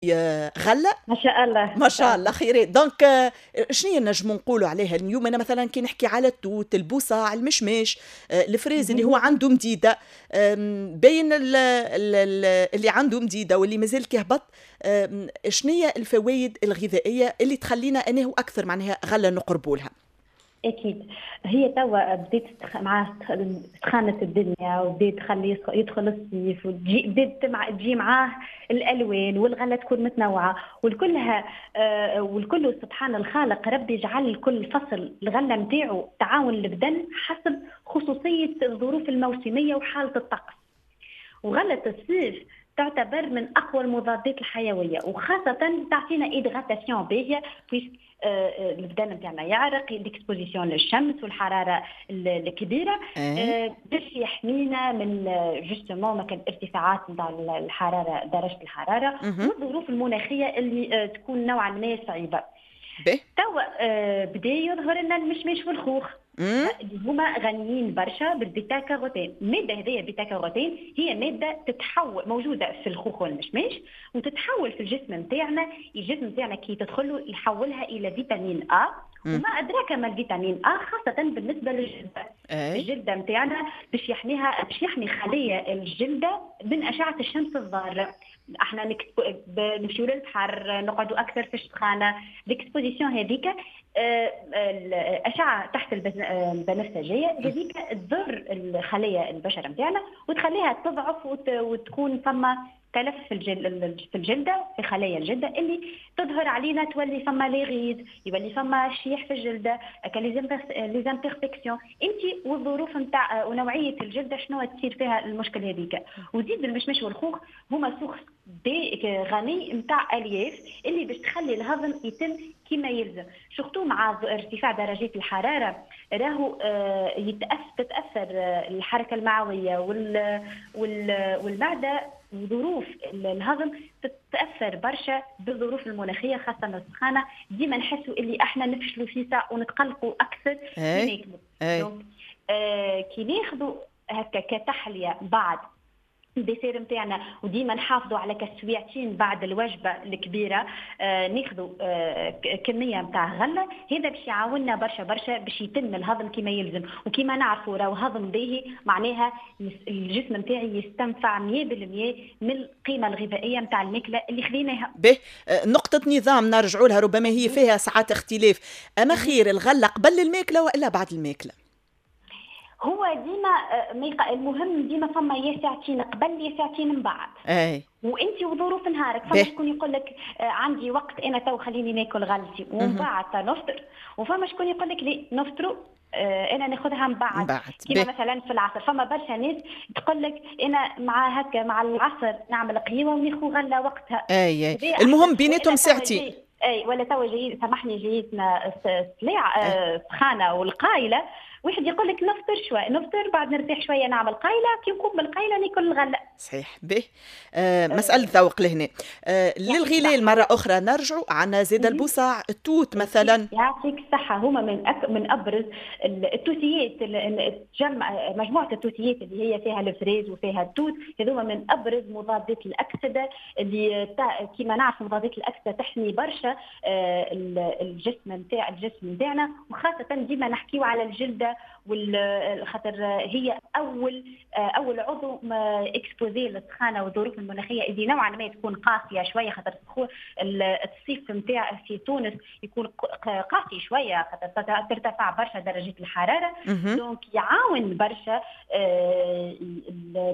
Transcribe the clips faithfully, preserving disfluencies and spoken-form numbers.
غله. ما شاء الله. ما شاء الله، خيرات. donc آه، شنو نجموا نقولوا عليها اليوم؟ انا مثلا كي نحكي على التوت، البوصاع، المشماش، آه، ال fraise اللي هو عنده مديده، بين اللي عنده مديدة واللي مازال كيهبط، شنو هي الفوائد الغذائية اللي تخلينا انه اكثر معناها غله نقربوا لها؟ اكيد، هي توا بديت مع سخانه الدنيا وبديت تخلي يدخل الصيف وتجي بديت مع تجي معاه الالوان والغلة تكون متنوعة والكلها آه والكل. سبحان الخالق، ربي جعل كل فصل الغلة نتاعو تعاون البدن حسب خصوصية الظروف الموسمية وحاله الطقس. وغله الصيف تعتبر من اقوى المضادات الحيويه، وخاصة تعطينا hydratation باهيه puisque آه، آه، البدن نتاعنا يعرق، l'exposition للشمس والحرارة الكبيره إيه. باش يحمينا من justement ما كان ارتفاعات نتاع الحراره، درجه الحرارة والظروف المناخية اللي آه، تكون نوعا ما صعيبه. توا بدا يظهر لنا المشماش والخوخ اللي هما غنيين برشا بال bêta-carotène. المادة هذه bêta-carotène هي مادة تتحول، موجودة في الخوخ والمشماش، وتتحول في الجسم نتاعنا. الجسم نتاعنا كي تدخل يحولها الى vitamine A، وما ادراك ما ال vitamine A، خاصة بالنسبة للجلده. أي. الجلدة نتاعنا باش يحميها، باش يحمي خليه الجلدة من اشعه الشمس الضاره. احنا نمشيو للبحر، نقعدوا اكثر في السخانه، l'exposition هذيك آه، الاشعة تحت البنفسجية هذيك تضر الخلايا البشرة نتاعنا وتخليها تضعف وتكون فما تلف في الجلد، في الجلده، في خلايا الجلدة اللي تظهر علينا، تولي فما les rides، يولي فما شيح في الجلده، les imperfections. انت والظروف نتاع ونوعية الجلدة شنو تصير فيها المشكل هذيك. وزيد المشمش والخوخ هما source de غني نتاع الياف اللي باش تخلي الهضم يتم كما يلزم، surtout مع ارتفاع درجات الحراره، راهو آه، يتأثر تتاثر الحركة المعويه وال والمعده، وظروف الهضم تتاثر برشا بالظروف المناخيه، خاصة السخانه. ديما نحسوا اللي احنا نفشلوا فيسع ونتقلقوا اكثر كي ناكلوا. آه كي ناخذوا هكا كتحليه بعد ال dessert نتاعنا، وديما نحافظوا على كسويعتين بعد الوجبة الكبيرة آه ناخذوا آه كمية نتاع غله، هذا باش يعاوننا برشا برشا باش يتم الهضم كما يلزم. وكما نعرفوا راهو هضم باهي معناها الجسم نتاعي يستنفع مية في المية من القيمة الغذائية نتاع الماكلة اللي خذيناها. به آه، نقطة نظام نرجعوا لها، ربما هي فيها ساعات اختلاف. اما خير الغلة قبل الماكلة والا بعد الماكله؟ هو ديما آه، المهم ديما فما يا ساعتين قبل يا ساعتين من بعد. اي وانت وظروف نهارك. فما شكون يقول لك آه، عندي وقت انا تو، خليني ناكل غلتي ومن بعد نفطر، وفما شكون يقول لك لي نفطروا، آه، انا ناخذها من بعد. بعد كيما مثلا في العصر، فما برشا ناس تقول لك انا مع هكا مع العصر نعمل قهوة وناخذ غله وقتها. اي اي المهم بيناتهم ساعتين. اي، ولا توا جاي، سامحني، جايتنا السلاع سخانه والقايله، واحد يقول لك نفطر شوي، نفطر بعد نرتاح شويه، نعمل قايله، كي نقوم بالقايله ناكل الغله. صحيح. به آه مسالة ذوق لهنا. آه للغلال مرة اخرى نرجعوا، عندنا زاد البوصاع، التوت مثلا. يعطيك الصحه، هما من أك... من ابرز التوتيات، تجمع مجموعة التوتيات اللي هي فيها ال fraise وفيها التوت، هذوما من ابرز مضادات الاكسدة اللي كما نعرف مضادات الاكسدة تحمي برشا آه، الجسم نتاع الجسم نتاعنا، وخاصة ديما نحكيو على الجلده، خاطر هي اول آه، اول عضو exposé للسخانه والظروف المناخية اللي نوعا ما تكون قاسية شويه، خاطر الصيف نتاع في تونس يكون قاسي شوية خاطر ترتفع برشا درجات الحراره. donc يعاون برشا آه،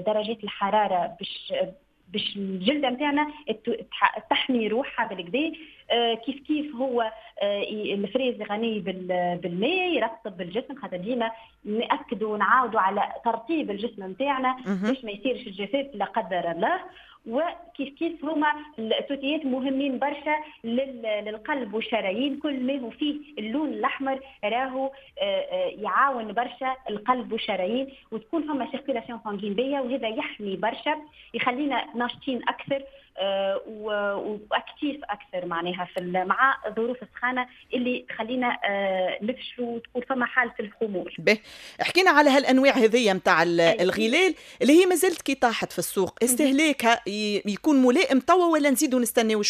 درجات الحرارة باش باش الجلدة نتاعنا تحمي روحها بالقدا. آه، كيف كيف هو آه، ال fraise غني بالماء، يرطب الجسم، خاطر ديما ناكدوا ونعاودوا على ترطيب الجسم نتاعنا باش ما يصيرش الجفاف لا قدر الله. وكيف كيف هما التوتيات مهمين برشا للقلب والشرايين. كل ما هو فيه اللون الاحمر راهو آه، آه، يعاون برشا القلب والشرايين وتكون فما circulation sanguine باهيه، وهذا يحمي برشا، يخلينا ناشطين اكثر. آه، و actif اكثر معناها في مع ظروف السخانه اللي تخلينا آه، نفشلوا وتكون فما حاله الخمول. به، حكينا على هالانواع هذيا نتاع الغلال اللي هي مازالت كي طاحت في السوق، استهلاكها يكون ملائم توا ولا نزيدوا نستناو شويه؟